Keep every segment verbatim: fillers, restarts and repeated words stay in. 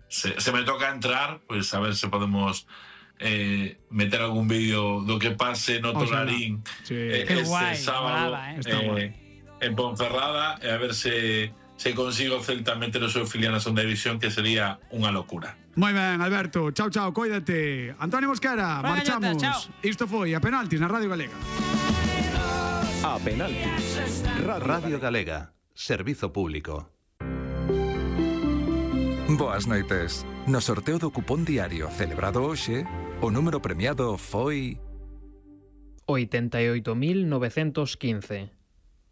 se, se me toca entrar, pues a ver se podemos eh, meter algún vídeo do que pase no Tolarín sí. eh, Qué este guay, sábado brava, eh. eh, en Ponferrada, e a ver se se consigo Celta meter o seu filial na segunda división, que sería unha locura. Moi ben, Alberto. Chao, chao, coídate. Antonio Mosquera, Buena marchamos. galleta, Isto foi A Penaltis na Radio Galega. A Penaltis. Radio Galega. Servizo público. Boas noites. No sorteo do cupón diario celebrado hoxe, o número premiado foi oitenta e oito mil novecentos quince.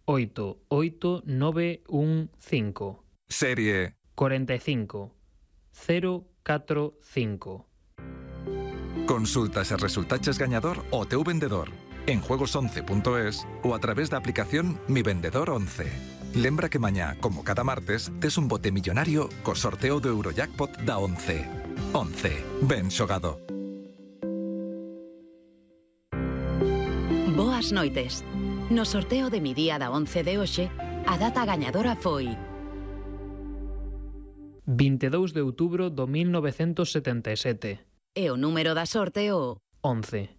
oito oito nove un cinco. serie cuarenta y cinco cero catro cinco. Consulta se resultaches gañador o teu vendedor en juegos once punto es ou a través da aplicación Mi Vendedor once. Lembra que mañá, como cada martes, tes un bote millonario co sorteo do Eurojackpot da once. once. Ben xogado. Boas noites. No sorteo de Mi Día da once de hoxe, a data gañadora foi vinte e dous de outubro do mil novecentos setenta e sete. e o número da sorte o once.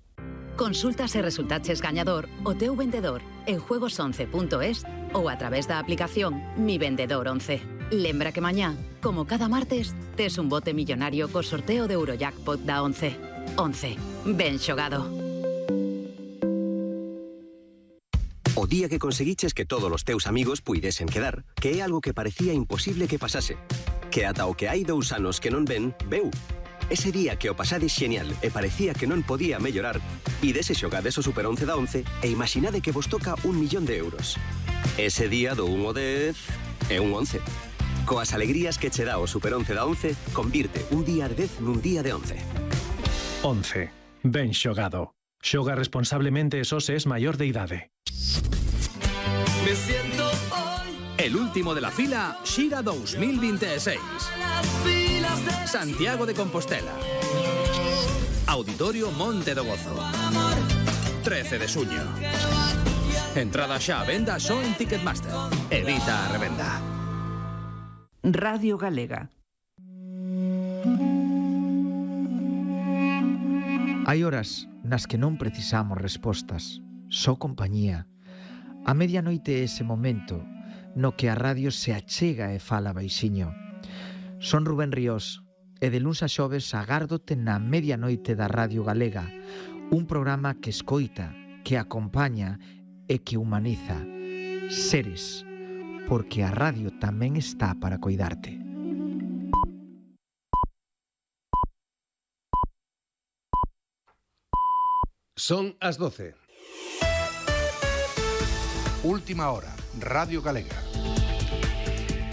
Consulta se resultaches gañador o teu vendedor en juegos once punto es ou a través da aplicación Mi Vendedor once. Lembra que mañá, como cada martes, tes un bote millonario co sorteo de Eurojackpot da once. once. Ben xogado. O día que conseguiches que todos os teus amigos puidesen quedar, que é algo que parecía imposible que pasase. Que ata o que hai dous anos que non ven, veu. Ese día que o pasades xenial e parecía que non podía mellorar, idese xogades o Super once da once e imaginade que vos toca un millón de euros. Ese día do un ao dez é un once. Coas alegrías que che dá o Super once da once, convirte un día de dez nun día de once. once. Ben xogado. Xoga responsablemente e só se es maior de idade. Me siento hoy. El último de la fila, Xira dos mil veintiséis. Santiago de Compostela. Auditorio Monte do Gozo. trece de xuño. Entrada xa a venda só en Ticketmaster. Evita a revenda. Radio Galega. Hai horas nas que non precisamos respostas, só compañía. A medianoite é ese momento no que a radio se achega e fala baixiño. Son Rubén Ríos e de luns a xoves agárdote na medianoite da Radio Galega, un programa que escoita, que acompaña e que humaniza. Seres, porque a radio tamén está para coidarte. Son as doce. Última hora, Radio Galega.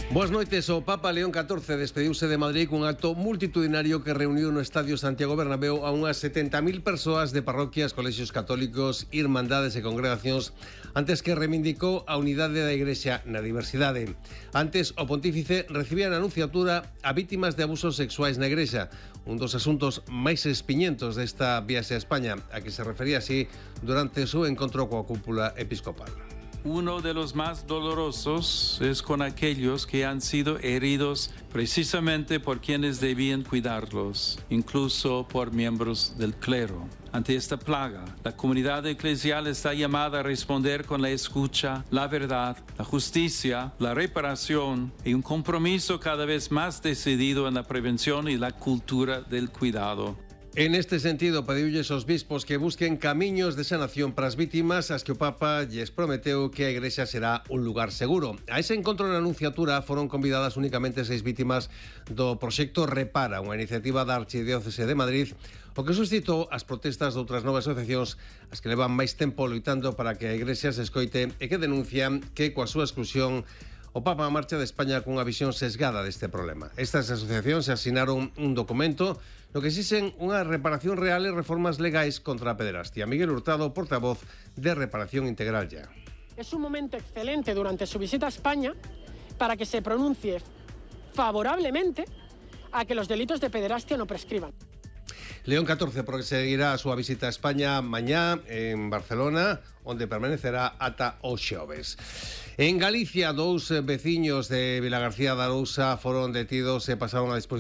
Boas noites. O Papa León catorce despediuse de Madrid cun acto multitudinario que reuniu no Estadio Santiago Bernabéu a unhas setenta mil persoas de parroquias, colexios católicos, irmandades e congregacións, antes que reivindicou a unidade da Igrexa na diversidade. Antes, o pontífice recibía na anunciatura a vítimas de abusos sexuais na Igrexa, un dos asuntos máis espiñentos desta viaxe a España, a que se refería así durante o seu encontro coa cúpula episcopal. Uno de los más dolorosos es con aquellos que han sido heridos precisamente por quienes debían cuidarlos, incluso por miembros del clero. Ante esta plaga, la comunidad eclesial está llamada a responder con la escucha, la verdad, la justicia, la reparación y un compromiso cada vez más decidido en la prevención y la cultura del cuidado. En este sentido, pediulles aos bispos que busquen camiños de sanación para as vítimas, as que o Papa lles prometeu que a Igrexa será un lugar seguro. A ese encontro na Anunciatura foron convidadas únicamente seis vítimas do proxecto Repara, unha iniciativa da Archidiócese de Madrid, o que suscitou as protestas de outras novas asociacións, as que levan máis tempo loitando para que a Igrexa se escoite e que denuncian que coa súa exclusión o Papa marcha de España cunha visión sesgada deste problema. Estas asociacións asinaron un documento no que exixen unha reparación real e reformas legais contra a pederastia. Miguel Hurtado, portavoz de Reparación Integral Ya. Es un momento excelente durante su visita a España para que se pronuncie favorablemente a que los delitos de pederastia no prescriban. León catorce proseguirá a súa visita a España mañá en Barcelona, onde permanecerá ata o xoves. En Galicia, dous veciños de Vilagarcía de Arousa foron detidos e pasaron a disposición